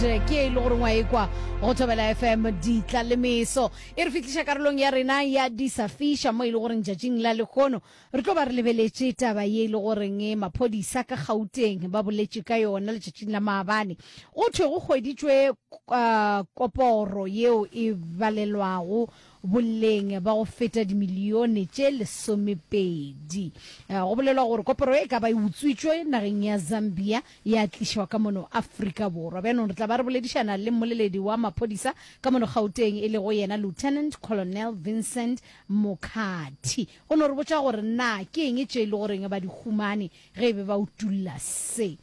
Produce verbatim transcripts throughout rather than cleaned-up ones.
Ke e le gore ngwa ekwa go Thobela F M ditla le meso. E re fihliša karolong ya rena ya di sa fiša, mo e le goreng tšatšing la lehono re tlo ba re lebeletše taba ye e le goreng maphodisa ka Gauteng ba boletše ka yona letšatšing la maabane. Go thwe go hweditšwe uh, koporo yeo e balelwago boleng ba go feta dimilione tše lesomepedi. Go bolelwa gore koporo e ka ba e utswitšwe nageng ya Zambia ya tlišwa ka mono Afrika Borwa. Bjanong re tla ba re boledišana le mmoleledi wa maphodisa ka mono Gauteng, e lego yena Lieutenant Colonel Vincent Mokhathi, go no re botša gore na ke eng tše e le goreng ba di humane ge e be ba utulla se.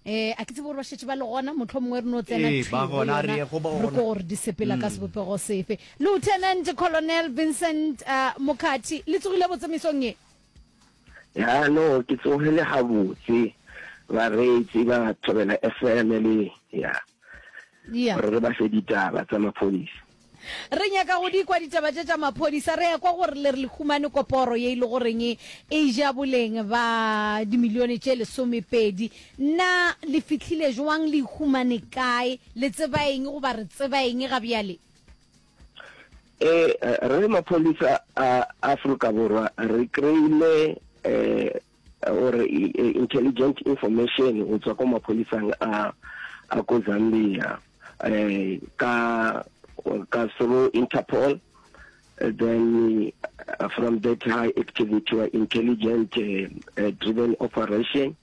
um a ke tsebe gore ba šetše ba le gona, motlho mongwe re no tsena. Ee, ba gona, re ye go bona. Re ko gore di sepela ka sebopego sefe. Lieutenant Colonel Vincent uh, Mokhathi, le tsogile botse mesong ye? Ya, no, ke tsogile gabotse, bareetsi ba Thobela F M le ya ya gore re ba fe ditaba tsa maphodisa. Re nyaka go di kwa ditaba tše tša maphodisa. Re ya kwa gore le re le humane koporo ye e le goreng e ja boleng ba dimilione tše lesomepedi. Na le fihlile jwang, le humane kae, le tseba eng goba re tseba eng ga bjale? eh re le maphodisa a Afrika Borwa re kry-ile eh or intelligent information go tswa ko maphodisang a a ko Zambia eh ka ka through Interpol. Then uh, from that high activity or intelligent uh, uh, driven operation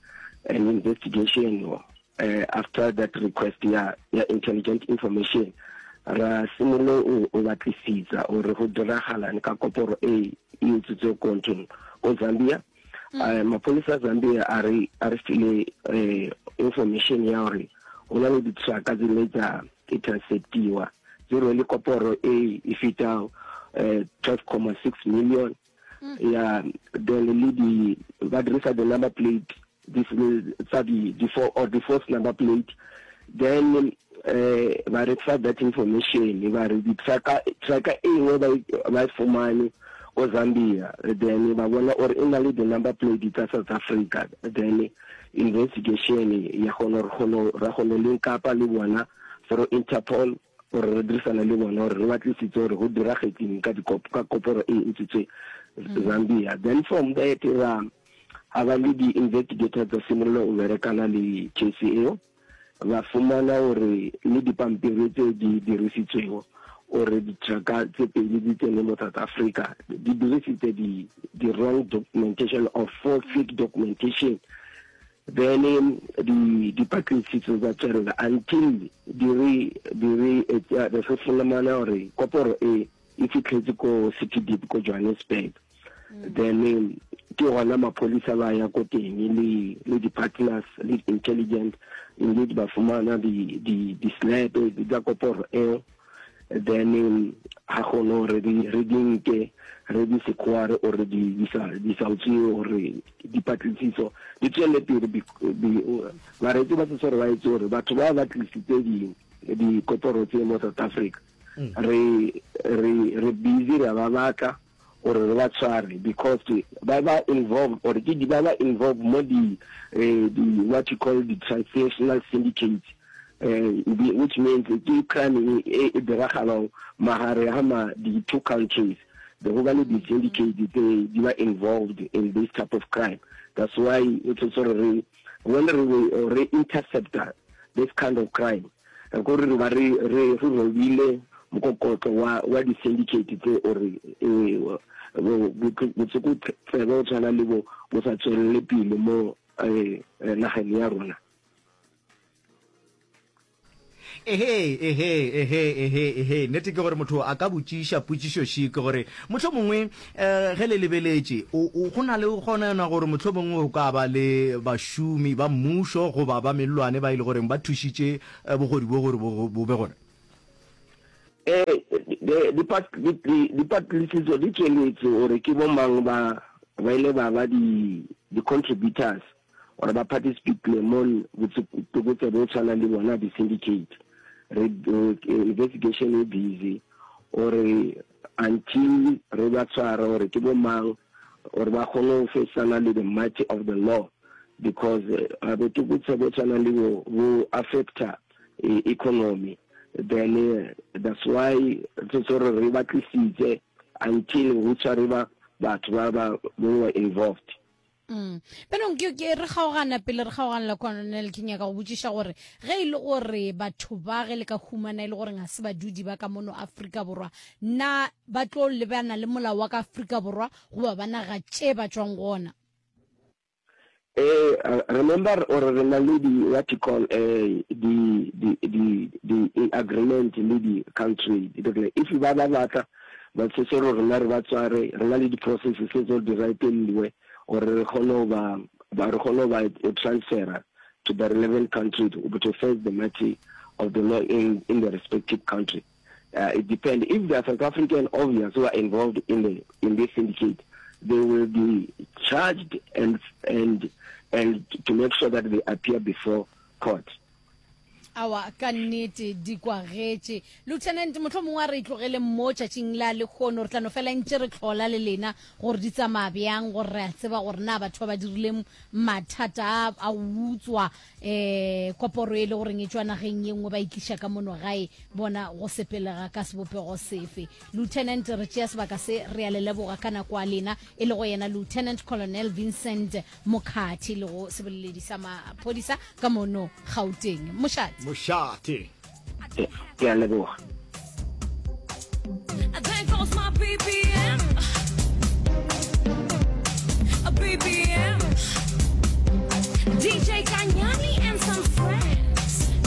and investigation, uh, after that request ya ya intelligent information, ra simolola o batlisisa gore go diragalang ka koporo e e utswitswe ko nthong ko Zambia. uh, maphodisa a Zambia a re a re file uh, information ya gore go na le ditrucka tse le tsa interceptiwa tse rwele koporo e e feta uh, twelve point six million ya. Then le di ba dirisa the number plate this tsa di di four or the false number plate. Then eh ba re fa that information, ba re di trucka trucka e nngwe ba ba e fumane ko Zambia, then ba bona gore e na le the number plate tsa South Africa. Then investigation ya gone re kgone ra kgone link up le bona through Interpol, gore re dirisana le bona gore re batlisitse gore go diragetseng ka ka koporo e utswitswe Zambia. Then from that ra ga ba le di-investigators tsa simolola o berekana le case eo, ba fumana gore le dipampiri tse di dirisitswego gore ditrucka tse pedi di tsene mo South Africa di dirisitse di di-wrong documentation or false fake documentation. Then di dipatlisiso tsa tswelela until di re di re re fumana gore koporo e e fitlhetse ko City Deep ko Johannesburg. Then ke gona maphodisa ba ya ko teng le le di-partners le intelligent, indeed ba fumana di di di-slab tsa koporo eo. Then ga kgone gore re di nke, re di sekware gore di di sa di sa utswiwe, gore dipatlisiso di tswele pele. Bareetsi ba setse gore ba itse gore batho ba ba tlisitse di dikoporo tse mo South Africa, re re re busy re ba batla gore re ba tshware because ba ba involved or ke di ba ba involved mo di eh, di what you call the transnational syndicates, uh, which means ke crime e e diragalang magare ga ma di two countries. The go ba le di-syndicate tse di ba involved in this type of crime. That's why o tshwanetse gore re when re re intercepta this kind of crime, gore re ba re re re robile mokokotlo wa wa di-syndicate tse ore botlokotsebe o tshwana le bo bo sa tswelele pele mo nageng ya rona. Ehe, ehe, ehe, ehe, ehe, nnete ke gore motho a ka botšiša potšišoši ke gore motlho mongwe um ge le lebeletše go na le kgonana gore motlho mongwe go ka ba le bašomi ba mmušo goba ba mellwane ba e le goreng ba thušitše bogodu bo gore bo be gona. Eh dipatlisiso di tsweletse gore ke bo mang ba ba ile ba ba di di-contributors or ba participate mo botlokotsebe bo tshwana le bona di-syndicate. Re investigation e busy gore until re ba tshwara gore ke bo mang, gore ba kgone go faceana le the mighty of the law, because botlokotsebe bo tshwana le bo bo affecta economy. Then that's why re tshwanetse gore re batlisitse until go tshwariwa batho ba ba were involved. Mm. Bjanong ke, ke re kgaogana pele re kgaoganela Colonel, ke nyaka go botšiša gore ge e le gore batho ba ge le ka humana e le gore ga se badudi ba ka mono Afrika Borwa, na ba tlo lebana le molao wa ka Afrika Borwa goba ba naga tše ba tšwang go ona? Eh, remember gore re na le di what you call eh di di di di agreement le di country. If ba ba batla ba tshetse gore rena re ba tsware, re na le di processes tse tso di raitelliwe gore re kgone go ba ba re kgone go ba transfera to the relevant country to, to face the matter of the law in in the respective country. Uh, it depends. If they are South African, obvious, who are involved in the in this syndicate, they will be charged and and and to make sure that they appear before court. Awa, ka nnete di kwagetše. Lieutenant, mohlomongwe a re tlogeleng mo tšatšing la lehono, re tla no fela ntše re hlola le lena gore di tsamaya bjang, gore re a tseba gore na batho ba ba dirileng mathata a a go utswa um koporo e le goreng e tšwa nageng ye nngwe ba e tliša ka mono gae, bona go sepelega ka sebopego sefe. Lieutenant, re tšea sebaka se re a le leboga ka nako a lena, e lego yena Lieutenant Colonel Vincent Mokhathi, le go seboleledi sa maphodisa ka mono Gauteng. Mošate. Mošate. Ke a leboga.